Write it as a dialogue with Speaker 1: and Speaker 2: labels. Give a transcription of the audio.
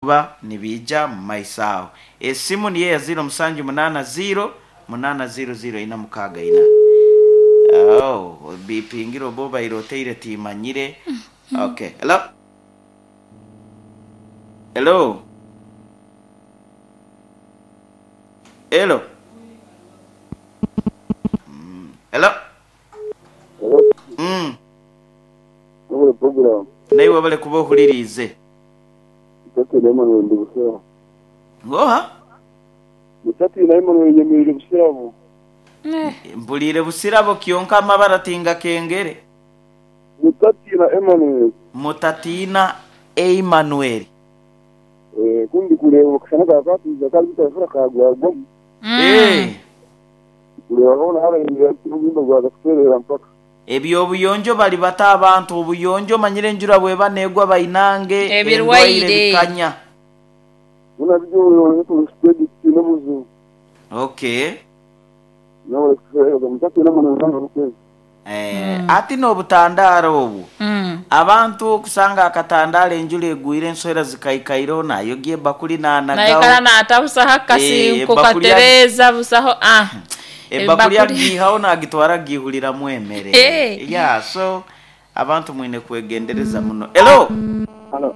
Speaker 1: Kuba nibiija mu maiso aho. Esimu niyo eya ziiro musanju munaana ziiro munaana ziiro ziiro ina mukaaga ina. Oh, obipingire oba obaire oteire timanyire. Okay, hello? Hello? Hello? Mm, hello? Mm.
Speaker 2: Webale program.
Speaker 1: Naiwe webale kuba ohuliriize.
Speaker 2: Mutatiina Emmanuel ndi Busirabo.
Speaker 1: Oha?
Speaker 2: Mutatiina Emmanuel nyemereire Busirabo.
Speaker 1: Mpuliire Busirabo kyonka amabara tingakengere.
Speaker 2: Mutatiina Emmanuel.
Speaker 1: Mutatiina Emmanuel.
Speaker 2: Eh, ku ndi kureeba akashana ka kaatwiza kari butarifura kaagwagwamu.
Speaker 1: Eh.
Speaker 2: Kureeba hoona harahindura obuhimba bwaza kutereera mpaka.
Speaker 1: Eby'obuyonjo bali bata abantu obuyonjo omanyire enjura bweba negwa bainange endwaire
Speaker 3: Ebirwaire.
Speaker 1: bikanya.
Speaker 2: Hoona biri obuyonjo turi steady titwine buzibu.
Speaker 1: Okay.
Speaker 2: Mwebale kutuheereza mutatiina munonga buri kwezi.
Speaker 1: Eh, ati n'obutandaaro obwo abantu okusanga akatandaaro enjura egwire enswera zikaikaireho nayogya ebakuli
Speaker 3: Naikara
Speaker 1: nanagaho
Speaker 3: naata busaho
Speaker 1: Eh,
Speaker 3: akasinko
Speaker 1: ebakuli
Speaker 3: katereeza busaho ah
Speaker 1: ebakuli
Speaker 3: ebakuli
Speaker 1: agiihaho nagitwara agiihuriramu emere
Speaker 3: Eh.
Speaker 1: yeah so abantu mwine kwegendereza muno. Hello.
Speaker 2: Halo.